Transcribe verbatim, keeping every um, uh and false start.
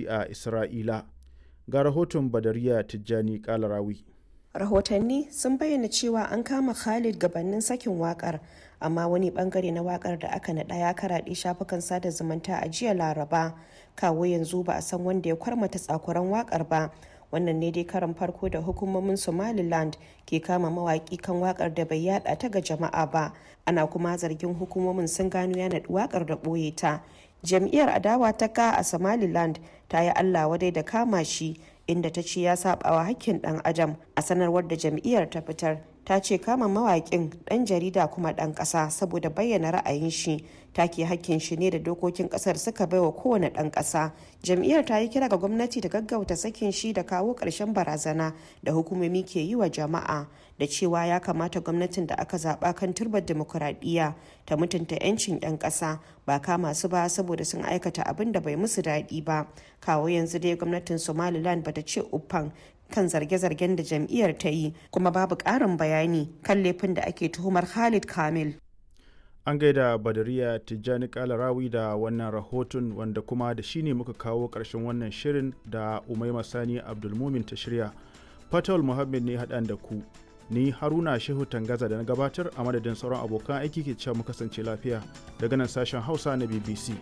A Isra'ila. Ga rahoton Badariya Tijjani Kalarawi. Rahotanni sun bayyana cewa an kama Khalid gabanin sakin wakar, amma wani bangare na wakar da aka naɗa ya karaɗe shafukan sada zumunta a jiya Laraba. Kawo yanzu ba a san wanda ya kwarmata tsakuran wakar ba. Wannan ne dai karan farko da hukumomin Somaliland ke kama mawaki kan wakar da bai yada ta ga jama'a ba. Ana kuma zargin hukumomin sun gano ya naɗi wakar da ɓoye ta. Jam'iyyar adawa ta ka a Somaliland ta yi Allah wadai da kama shi, inda ta ce ya sabawa hakkin dan adam. A sanarwar da jam'iyyar ta fitar, ta ce kama mawaƙin, ɗan jarida kuma ɗan ƙasa, saboda bayyana ra'ayin shi take hakkin shi ne da dokokin ƙasar suka baiwa kowane ɗan ƙasa. Jam'iyyar ta yi kira ga gwamnati da gaggauta sakin shi da kawo ƙarshen barazana da hukumomi ke yi wa jama'a, da cewa ya kamata gwamnatin da aka zaɓa kan turbar dimokuraɗiyya ta mutunta 'yancin 'yan ƙasa, ba kama su ba saboda sun aikata abin da bai musu daɗi ba. Kawo yanzu dai gwamnatin Somaliland bata ce uffan kan zarge-zargen da jam'iyyar ta yi, kuma babu ƙarin bayani kan laifin da ake tuhumar Khalid Kamil. An gaida Badariya Tijjani Kalarawi da wannan rahoton, wanda kuma da shi ne muka kawo ƙarshen wannan shirin da Umaima Sani Abdulmumin ta shirya. Fatawul Muhammad ne haɗan da ku. Ni Haruna Shehu Tangaza da na gabatar a madadin sauran abokan aiki ke cewa mu kasance lafiya daga nan sashen Hausa na B B C.